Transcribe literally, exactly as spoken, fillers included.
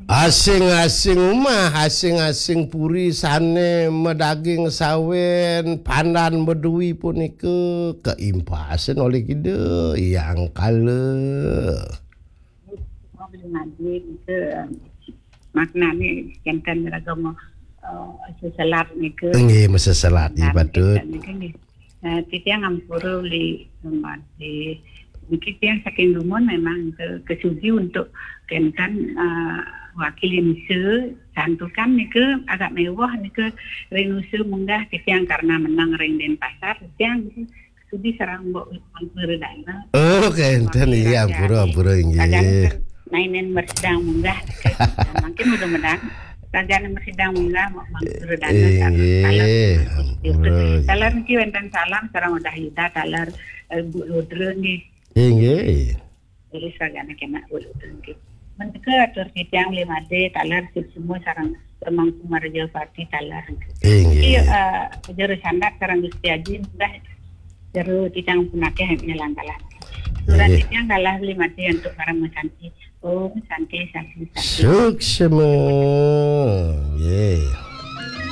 Asing-asing umah, asing-asing puri sané madaging sawén, pandan madui punika kaimpasin olih Ida Hyang Kala. Mangkin nika maknané kénten raga ma- eh, seselat nika. Nggih, maseselat, nggih, Dan patut. Kénten nika nggih. Eh, titiang ampura Beli Madé. Niki tiang saking dumun memang ke, kesugi untuk kénten eh, wakil misa santukan nika agak mewah nika ring nusa munggah titiang karena menang ring Denpasar titiang nika sudi sareng Mbok Mangku Redana. Oh, kénten, iya, ampura, ampura, Raga inggih. Nainen mersidang munggah nika. Nah, mungkin udah menang. Raga mersidang munggah Mangku Redana Inggih, taler. ampura, inggih. Taler niki wénten salam sareng Udah Yuda taler eh, Bu Ludra nggih. Inggih. Jadi seragana kena Bu Ludra nggih. Menika atur titiang Beli Madé taler sip semua sareng Remang Kumaraja Parti taler. Inggih. Iya, eh, jero sandak sareng Gusti Aji munggah jero titiang punakeh nyelang kalah. Surat Inggih. Titiang kalah Beli Madé untuk para mesanti. Om Santi, Santi, Santi. Suksma. Nggih.